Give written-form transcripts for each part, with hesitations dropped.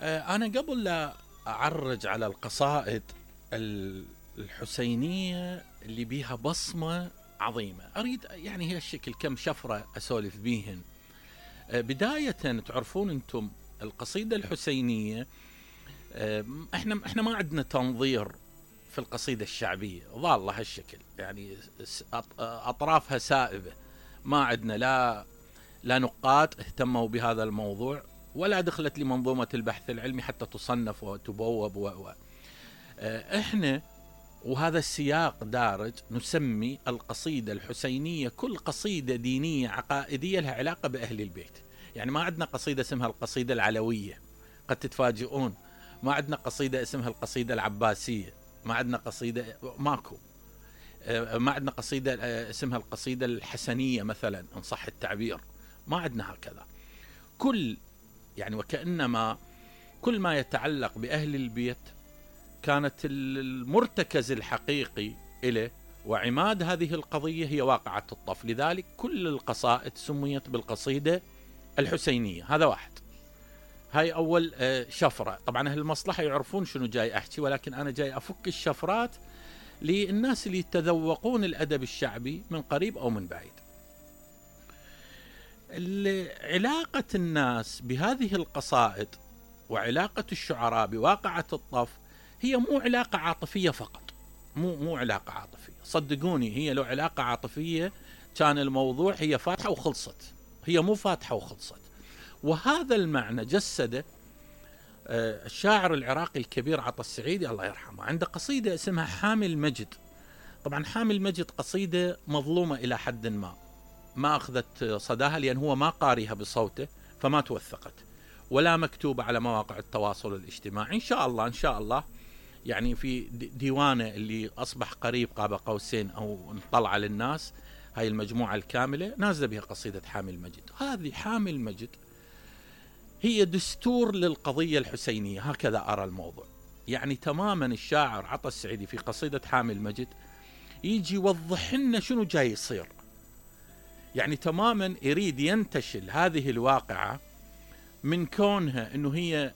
أنا قبل لا أعرج على القصائد الحسينية اللي بيها بصمة عظيمة، أريد يعني هالشكل كم شفرة أسولف بيهن. بداية تعرفون أنتم القصيدة الحسينية، احنا ما عندنا تنظير في القصيدة الشعبية، ظالة هالشكل، يعني أطرافها سائبة، ما عندنا لا نقاد اهتموا بهذا الموضوع، ولا دخلت لمنظومة البحث العلمي حتى تصنف وتبوب احنا وهذا السياق دارج نسمي القصيدة الحسينية كل قصيدة دينية عقائدية لها علاقة بأهل البيت. يعني ما عندنا قصيدة اسمها القصيدة العلوية، قد تتفاجئون، ما عندنا قصيدة اسمها القصيدة العباسية، ما عندنا قصيدة، ماكو، ما عندنا قصيدة اسمها القصيدة الحسنية مثلا إن صح التعبير، ما عندنا هكذا. يعني وكأنما كل ما يتعلق بأهل البيت كانت المرتكز الحقيقي إليه وعماد هذه القضية هي واقعة الطف، لذلك كل القصائد سميت بالقصيدة الحسينية. هذا واحد، هاي أول شفرة. طبعا أهل المصلحة يعرفون شنو جاي أحكي، ولكن أنا جاي أفك الشفرات للناس اللي يتذوقون الأدب الشعبي من قريب أو من بعيد. علاقة الناس بهذه القصائد وعلاقة الشعراء بواقعة الطف هي مو علاقة عاطفية فقط، مو علاقة عاطفية، صدقوني هي لو علاقة عاطفية كان الموضوع هي فاتحة وخلصت، هي مو فاتحة وخلصت. وهذا المعنى جسده الشاعر العراقي الكبير عطا السعيدي الله يرحمه، عنده قصيدة اسمها حامي المجد. طبعا حامي المجد قصيدة مظلومة إلى حد ما أخذت صداها لأن هو ما قاريها بصوته فما توثقت، ولا مكتوبة على مواقع التواصل الاجتماعي. إن شاء الله يعني في ديوانه اللي أصبح قريب قاب قوسين أو انطلع للناس، هاي المجموعة الكاملة نازل بها قصيدة حامي المجد. هذه حامي المجد هي دستور للقضية الحسينية، هكذا أرى الموضوع. يعني تماما الشاعر عطا السعيدي في قصيدة حامي المجد يجي يوضح لنا شنو جاي يصير، يعني تماما يريد ينتشل هذه الواقعة من كونها أنه هي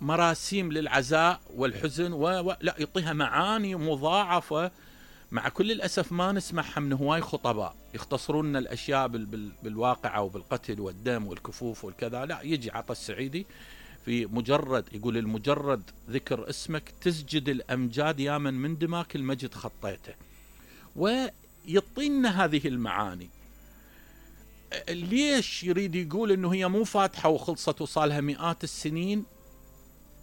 مراسيم للعزاء والحزن لا، يعطيها معاني مضاعفة. مع كل الأسف ما نسمعها من هواي خطباء يختصرون لنا الأشياء بالواقعة وبالقتل والدم والكفوف والكذا. لا، يجي عطا السعيدي في مجرد يقول المجرد ذكر اسمك تسجد الأمجاد يا من دماك المجد خطيته، ويعطينا هذه المعاني. ليش يريد يقول انه هي مو فاتحة وخلصت وصالها مئات السنين؟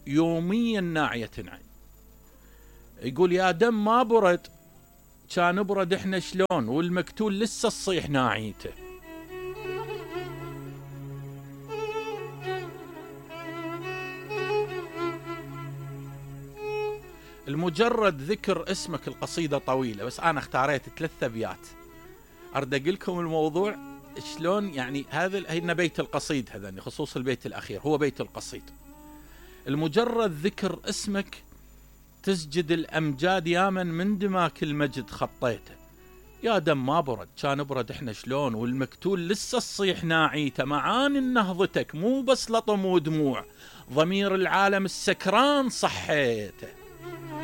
يوميا ناعية عين. يقول يا دم ما برد كان برد احنا شلون، والمقتول لسه الصيح ناعيته. المجرد ذكر اسمك، القصيدة طويلة بس أنا اختاريت 3 أبيات أرد أقول لكم الموضوع شلون. يعني هذا بيت القصيد، هذا خصوص البيت الأخير هو بيت القصيد. المجرد ذكر اسمك تسجد الأمجاد يا من دماك المجد خطيته، يا دم ما برد كان برد احنا شلون، والمقتول لسه الصيح ناعيته. معاني نهضتك مو بس لطم ودموع، ضمير العالم السكران صحيته.